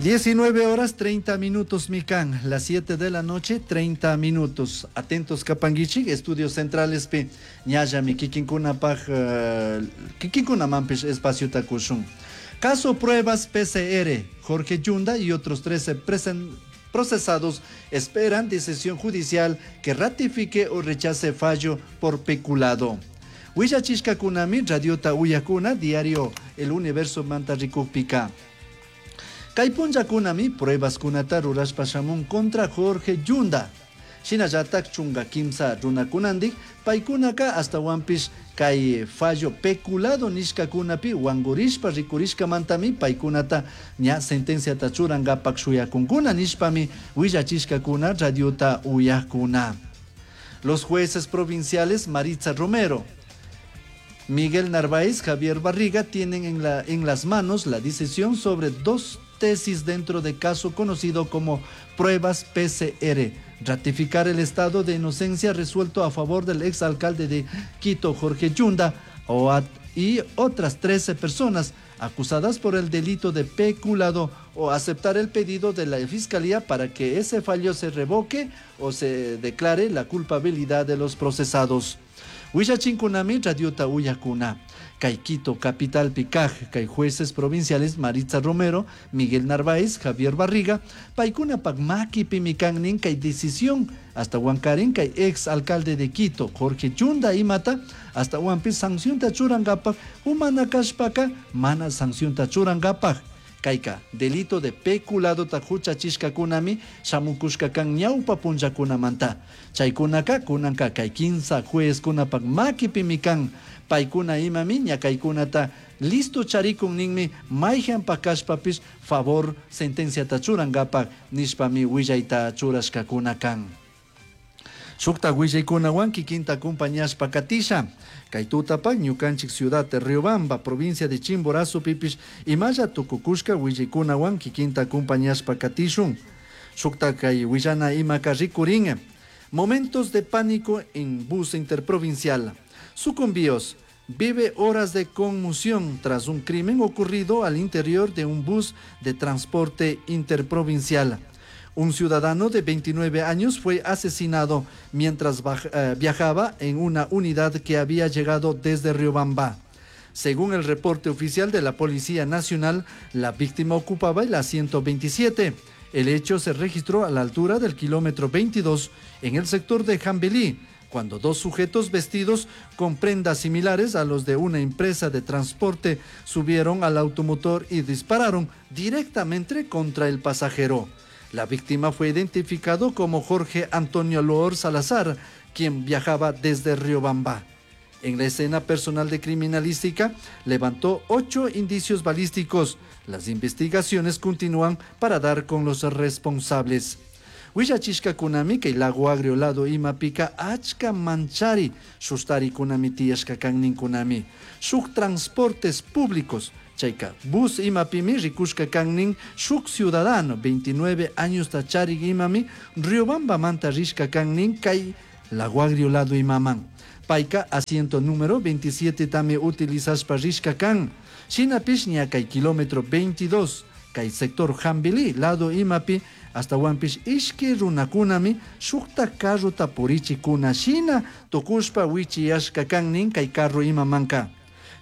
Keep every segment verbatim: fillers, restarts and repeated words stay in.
diecinueve horas treinta minutos mikan, las siete de la noche treinta minutos. Atentos kapanguichik, estudios centrales pi ñallami kikinkunapaj, uh, kikinkunamanpish espaciota kushun. Caso pruebas P C R, Jorge Yunda y otros trece presen-, procesados esperan decisión judicial que ratifique o rechace fallo por peculado. Huillachishkakunami radiota uyakuna diario El Universo manta rikukpika. Kay punllakunami pruebas kunata rurashpa shamun contra Jorge Yunda. Shinallatak chunga kimsa runakunandik paykunaka astawanpish kay fallo peculado nishkakunapi wangurishpa rikurishkamantami paykunata ña sentenciata churankapak shuyakunkuna nishpami willachishkakuna radiota uyakuna. Los jueces provinciales Maritza Romero, Miguel Narváez, Javier Barriga tienen en la, en las manos la decisión sobre dos tesis dentro de caso conocido como pruebas P C R. Ratificar el estado de inocencia resuelto a favor del exalcalde de Quito, Jorge Yunda, y otras trece personas acusadas por el delito de peculado, o aceptar el pedido de la fiscalía para que ese fallo se revoque o se declare la culpabilidad de los procesados. Huillachinkunami radiota uyakuna. Kay Quito, capital Picaj, kay jueces provinciales Maritza Romero, Miguel Narváez, Javier Barriga, paykuna pakmaki pimikannin kay decisión hasta Huancarín kay ex alcalde de Quito, Jorge Yunda imata, hasta Huampi sanción tachurangapak, humana kashpaka, mana sanción tachurangapak. Kayka, delito de peculado ta huchachishkakunami shamukushka kan ñawpa punllakunamanta. Chaykunaka kunanka kay kinsa juezkunapak makipimi kan. Paykuna imami ñakaykunata listo charikun ninmi mayhan pakashpapish favor sentenciata churankapak nishpami willayta churashkakuna kan. Shukta willaykunawan kikinta acompañashpa katisha. Kay tutapak ñukanchik ciudad de Riobamba, provincia de Chimborazo pipish imalla tukukushka willaykunawan kikinta acompañashpa katishun. Shukta kay willana imaka rikurin. Momentos de pánico en bus interprovincial. Sucumbíos vive horas de conmoción tras un crimen ocurrido al interior de un bus de transporte interprovincial. Un ciudadano de veintinueve años fue asesinado mientras baj-, eh, viajaba en una unidad que había llegado desde Riobamba. Según el reporte oficial de la Policía Nacional, la víctima ocupaba el asiento veintisiete. El hecho se registró a la altura del kilómetro veintidós en el sector de Jambelí, cuando dos sujetos vestidos con prendas similares a los de una empresa de transporte subieron al automotor y dispararon directamente contra el pasajero. La víctima fue identificado como Jorge Antonio Loor Salazar, quien viajaba desde Riobamba. En la escena personal de criminalística levantó ocho indicios balísticos. Las investigaciones continúan para dar con los responsables. Huillachishka kunami kay Lago Agrio lado imapika achka manchari sustari kunami tiyashka kannin kunami. Shuk transportes públicos chayka bus imapimi rikushka kannin shuk ciudadano veintinueve años tachari imami Riobamba manta rishka kannin kay Lago Agrio lado imaman. Payka asiento número veintisiete tami utilizashpa rishka kan. Shinapish ña kay kilómetro veintidós kay sector Jambelí lado imapi hasta Huampish ishki runakunami shukta carrota purichikuna shina tukushpa wichiyashka kannin kay carro imamanka.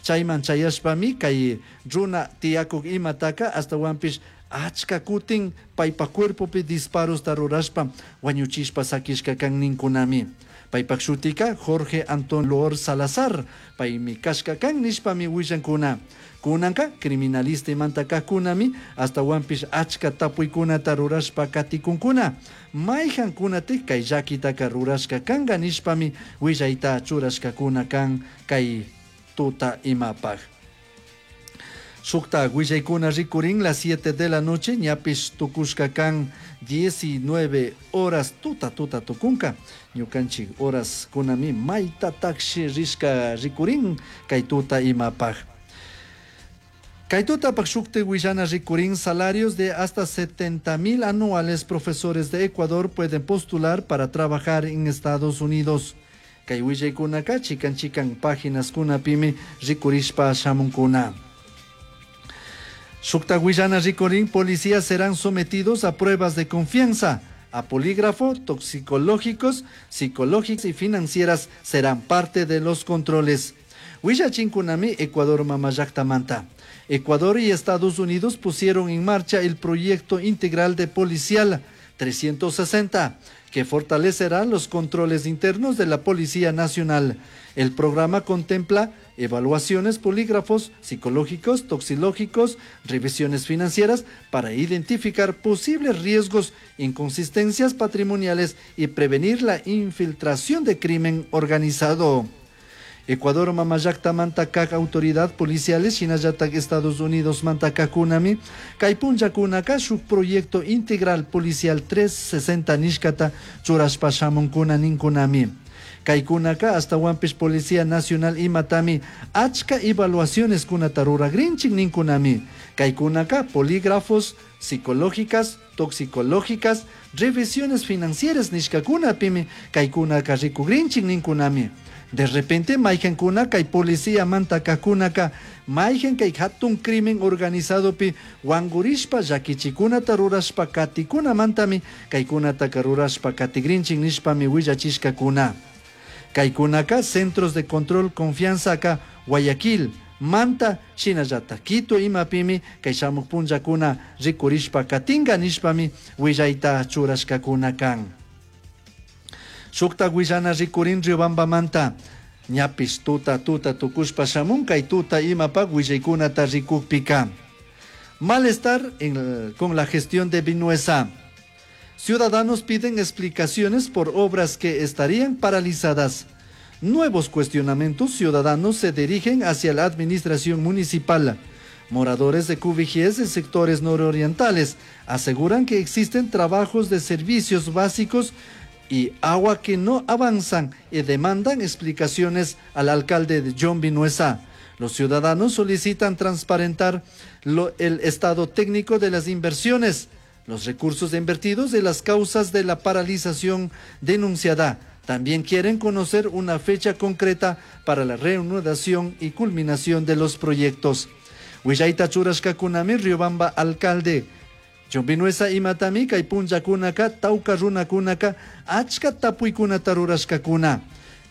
Chayman chayashpami kay runa tiyakuk imataka hasta Huampish achka kutin paypa cuerpopi disparos rurashpa wañuchishpa sakishka kanninkunami. Paypak shutika Jorge Antón Loor Salazar, paymi kashka kan nishpami willankuna. Kunanka criminalista imanta kajkunami hasta Huampish achka tapuykunata rurashpa katikunkuna. Mayhankunatik kay llakitaka rurashka kanka nishpami willayta churashkakuna kan kay tuta imapaj. Shukta willaykuna rikurin las siete de la noche, ñapish tukushka kan diecinueve horas tuta tuta tukunka. Ñukanchik horas kunami mayta takshi rishka rikurin kay tuta imapaj. Kay tutapak shukti willana rikurin salarios de hasta setenta mil anuales profesores de Ecuador pueden postular para trabajar en Estados Unidos. Kay willaykunaka chikan chikan páginas kunapimi rikurishpa shamunkuna. Shukta willana rikurin policías serán sometidos a pruebas de confianza, a polígrafo, toxicológicos, psicológicas y financieras serán parte de los controles. Willachinkunami Ecuador mamallaktamanta. Ecuador y Estados Unidos pusieron en marcha el proyecto integral de policial trescientos sesenta, que fortalecerá los controles internos de la Policía Nacional. El programa contempla evaluaciones, polígrafos, psicológicos, toxicológicos, revisiones financieras para identificar posibles riesgos, inconsistencias patrimoniales y prevenir la infiltración de crimen organizado. Ecuador mamallaktamanta kak autoridad policiales shinallatak Estados Unidos mantakakunami kay punllakunaka shuk proyecto integral policial trescientos sesenta nishkata churashpa shamunkuna ninkunami. Kaykunaka ashtawanpish Policía Nacional imatami achka evaluaciones kunata ruragrinchik ninkunami. Kaykunaka polígrafos, psicológicas, toxicológicas, revisiones financieras nishkakunapimi kaykunaka rikugrinchik ninkunami. De repente mayqankuna kay policía mantakakunaka mayqan kay hatun crimen organizadopi wangurishpa llakichikunata rurashpa katikunamantami kaykunataka rurashpa katigrinchik nishpami willachishkakuna. Kaykunaka centros de control confianzaka Guayaquil, Manta, shinallata Quito imapimi kay shamuq punllakuna rikurishpa katinka nishpami willayta churashkakuna kan. Shukta willana rikurin Riobambamanta ñapish tuta tuta tukushpa shamun kay tuta imapak willaykunata rikukpika. Malestar en el, con la gestión de Vinuesa. Ciudadanos piden explicaciones por obras que estarían paralizadas. Nuevos cuestionamientos ciudadanos se dirigen hacia la administración municipal. Moradores de Cubijíes en sectores nororientales aseguran que existen trabajos de servicios básicos y agua que no avanzan y demandan explicaciones al alcalde de John Vinuesa. Los ciudadanos solicitan transparentar lo, el estado técnico de las inversiones, los recursos invertidos y las causas de la paralización denunciada. También quieren conocer una fecha concreta para la reanudación y culminación de los proyectos. Willayta churashkakunami Riobamba alcalde. John Vinuesa imatami kay punllakunaka tawka runakunaka achka tapuykunata rurashkakuna.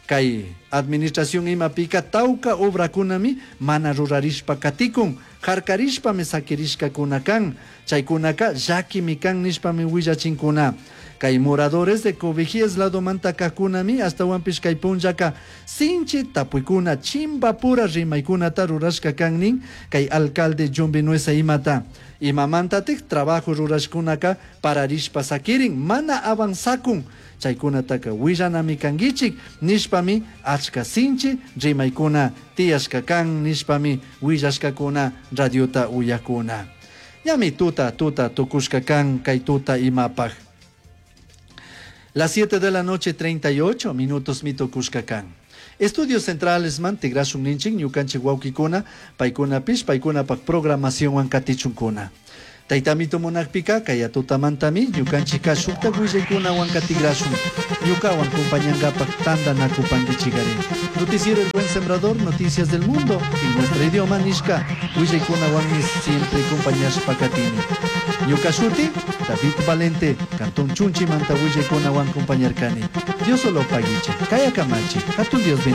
Kay administración imapika tawka obrakunami mana rurarishpa katikun, harkarishpami sakirishkakuna kan, chaykunaka llakimi kan nishpami willachinkuna. Kay moradores de Cobijíes lado mantakakunami ashtawanpish kay punllaka sinchi tapuykuna chimbapura rimaykunata rurashka kan nin kay alcalde John Vinuesa imata. Imamantatik trabajo rurashkunaka pararishpa sakirin mana avanzakun chaykunataka willanami kankichik nishpami achka sinchi rimaykuna tiyashka kan nishpami willashkakuna radiota uyakuna. Ñami tuta tuta tukushka kan kay tuta imapaj. Las siete de la noche, treinta y ocho minutos mitukushka kan. Estudios centrales man tigrashun ninchik ñukanchik wawkikuna paykuna pish paykunapak programación wan katichunkuna. Taytamito munakpika kay tutamantami ñukanchika shukta willaykuna wan katigrashun ñukawan kumpañankapak tantanakupankichikari. Noticiero El Buen Sembrador, noticias del mundo en nuestro idioma nishka willaykuna wanmi siempre kumpañashpa katini. Ñuka shuti David Valente, Cantón Chunchi manta willaykuna wan kumpañarkani. Dios solo paguiche, kaya kamachi, hatun Dios bendiga.